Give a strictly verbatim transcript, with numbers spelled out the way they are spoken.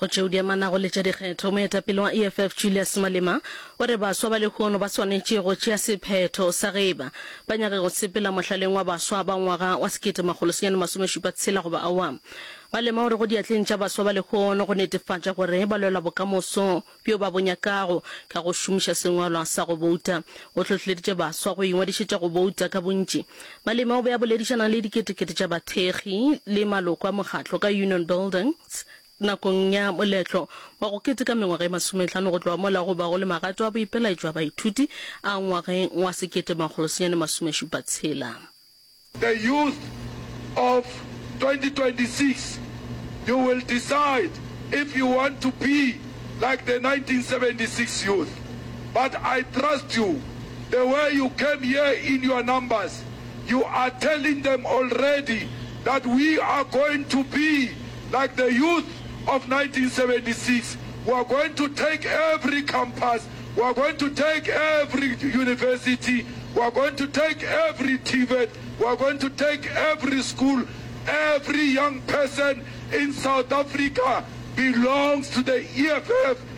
Go tšeo di amanago le tša dikgetho, moetapele wa E F F Julius Malema o re baswa ba lehono ba swanetše go tšea sephetho sa ge eba ba nyaka go sepela mohlaleng wa baswa ba ngwaga wa sekete makgolo senyane masomešupa tshela goba aowa. Malema o re go diatleng tša baswa ba lehono go netefatša gore ba lwela bokamoso bjo ba bo nyakago ka go šomiša sengwalwa sa go bouta. O hlohleleditše baswa go ingwadišetša go bouta ka bontši. Malema o be a boledišana le diketekete tša bathekgi le maloko a mokgatlo ka Union Buildings nakong ya moletlo wa go keteka mengwaga e masometlhano go tloga mola go bago le magato a boipelaetšo a baithuti a ngwageng wa sekete makgolo senyane masomešupa tshela. The youth of twenty twenty-six, you will decide if you want to be like the nineteen seventy-six youth. But I trust you. The way you came here in your numbers, you are telling them already that we are going to be like the youth of nineteen seventy-six. We are going to take every campus. We are going to take every university. We are going to take every T V E T. We are going to take every school. Every young person in South Africa belongs to the E F F.